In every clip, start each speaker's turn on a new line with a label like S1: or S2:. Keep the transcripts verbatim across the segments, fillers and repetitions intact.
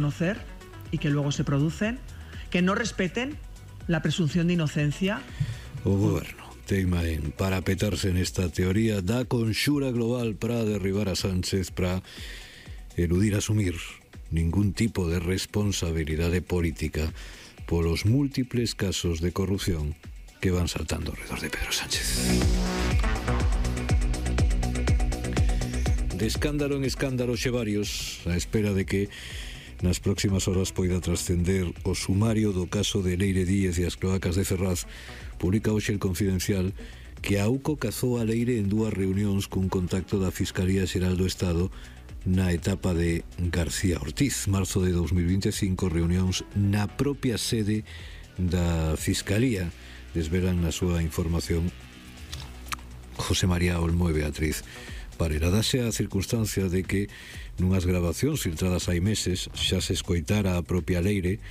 S1: conocer y que luego se producen, que no respeten la presunción de inocencia.
S2: O goberno teima en parapetarse nesta teoría da conxura global para derribar a Sánchez, para eludir asumir ningún tipo de responsabilidade política polos múltiples casos de corrupción que van saltando alrededor de Pedro Sánchez. De escándalo en escándalo xe varios, a espera de que nas próximas horas poida trascender o sumario do caso de Leire Díez e as cloacas de Ferraz. Publica hoxe el Confidencial que a UCO cazou a Leire en dúas reunións cun contacto da Fiscalía Xeral do Estado na etapa de García Ortiz. Marzo de dos mil vinte e cinco, reunións na propia sede da Fiscalía. Desvelan na súa información José María Olmo e Beatriz Parera. Dase a circunstancia de que nunhas grabacións filtradas hai meses xa se escoitara a propia Leire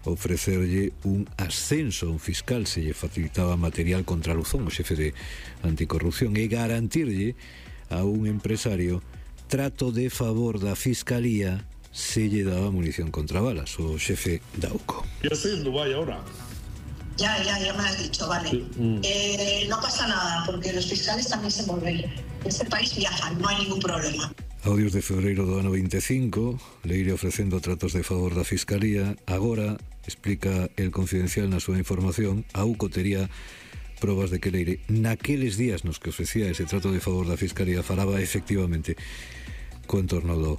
S2: ofrecerlle un ascenso a un fiscal se lle facilitaba material contra Luzón, o xefe de anticorrupción, e garantirlle a un empresario trato de favor da Fiscalía se lle daba munición contra balas, o xefe da UCO.
S3: Yo estoy en Dubái ahora.
S4: Ya, ya, ya me lo has dicho, vale. Sí. Mm. Eh, no pasa nada, porque los fiscales también se mueven. En este país viajan, no hay ningún problema.
S2: Audios de febreiro do ano veinticinco, Leire ofrecendo tratos de favor da Fiscalía. Agora, explica el Confidencial na súa información, a UCO tería probas de que Leire, naqueles días nos que ofrecía ese trato de favor da Fiscalía, falaba efectivamente co entorno do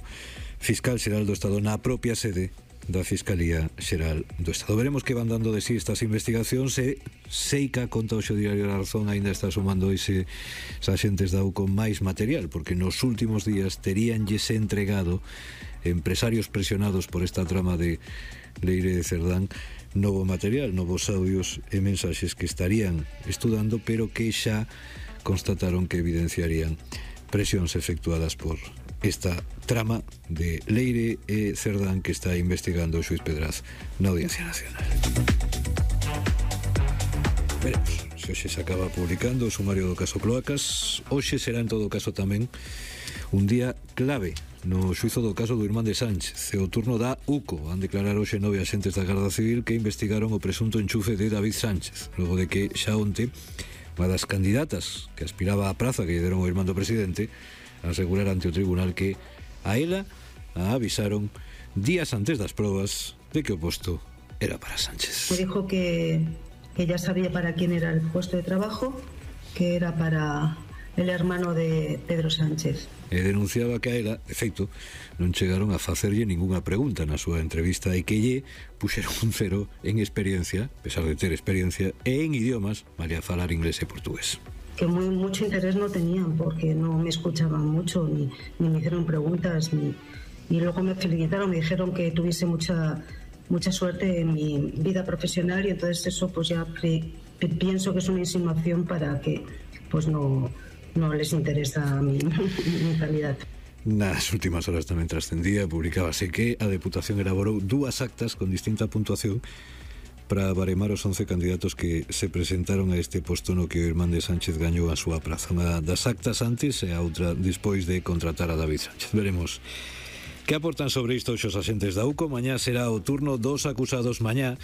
S2: Fiscal Xeral do Estado na propia sede da Fiscalía Xeral do Estado. Veremos que van dando de sí estas investigacións e Seica, conta hoxe o Diario da Razón, ainda está sumando ese axentes da UCO máis material, porque nos últimos días teríanlles entregado empresarios presionados por esta trama de Leire de Cerdán novo material, novos audios e mensaxes que estarían estudando, pero que xa constataron que evidenciarían presións efectuadas por esta trama de Leire e Cerdán que está investigando o xuiz Pedraz na Audiencia Nacional. Veremos se hoxe se acaba publicando o sumario do caso Cloacas. Hoxe será en todo caso tamén un día clave no xuizo do caso do irmán de Sánchez. O turno da UCO. Van declarar hoxe nove axentes da Garda Civil que investigaron o presunto enchufe de David Sánchez, logo de que xa onte unha das candidatas que aspiraba á praza que lle deron o irmán do presidente asegurar ante o tribunal que a ela a avisaron días antes das probas de que o posto era para Sánchez.
S5: Me dijo que, que ya sabía para quién era el puesto de trabajo, que era para el hermano de Pedro Sánchez.
S2: E denunciaba que a ela, de feito, non chegaron a facerlle ningunha pregunta na súa entrevista e que lle puxeron un cero en experiencia, a pesar de ter experiencia, e en idiomas, malia falar inglés e portugués.
S5: Que muy, mucho interés no tenían porque no me escuchaban mucho ni, ni me hicieron preguntas ni, y luego me felicitaron, me dijeron que tuviese mucha mucha suerte en mi vida profesional y entonces eso pues ya pre, pienso que es una insinuación para que pues no, no les interesa mi, mi calidad.
S2: Nas últimas horas tamén trascendía, publicábase que a Deputación elaborou dúas actas con distinta puntuación para baremar os once candidatos que se presentaron a este posto no que o irmán de Sánchez gañou a súa praza. Unha das actas antes e a outra despois de contratar a David Sánchez. Veremos que aportan sobre isto os axentes da UCO. Mañá será o turno dos acusados. Mañá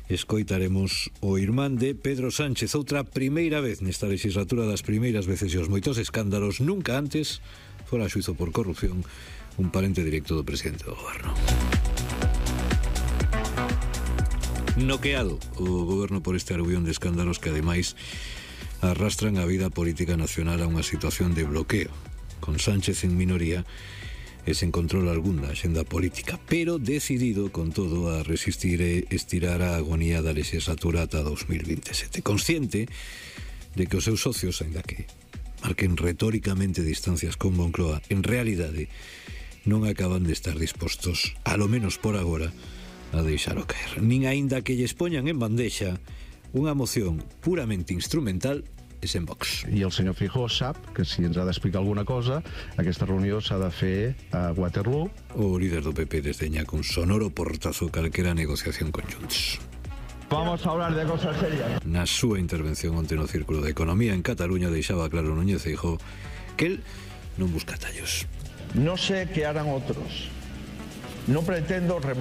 S2: escoitaremos o irmán de Pedro Sánchez, outra primeira vez nesta legislatura, das primeiras veces e os moitos escándalos. Nunca antes fora xuizo por corrupción un parente directo do presidente do goberno. Noqueado o goberno por este aluvión de escándalos que ademais arrastran a vida política nacional a unha situación de bloqueo, con Sánchez en minoría e sen control algún da axenda política, pero decidido con todo a resistir e estirar a agonía da legislatura ata dos mil veintisiete, consciente de que os seus socios, ainda que marquen retóricamente distancias con Moncloa, en realidade non acaban de estar dispostos, a lo menos por agora, a deixalo caer, nin aínda que lles poñan en bandexa unha moción puramente instrumental e sen Vox.
S6: I el senyor Feijóo sap que si ens ha d'explicar alguna cosa, aquesta reunió s'ha de fer a Waterloo.
S2: O líder do P P desdeña con sonoro portazo calquera negociación con Junts.
S7: Vamos a hablar de cosas serias.
S2: Na súa intervención onte no Círculo de Economía en Cataluña deixaba claro Núñez Feijóo que el non busca tallos.
S7: No sé qué harán otros, No pretendo remodelar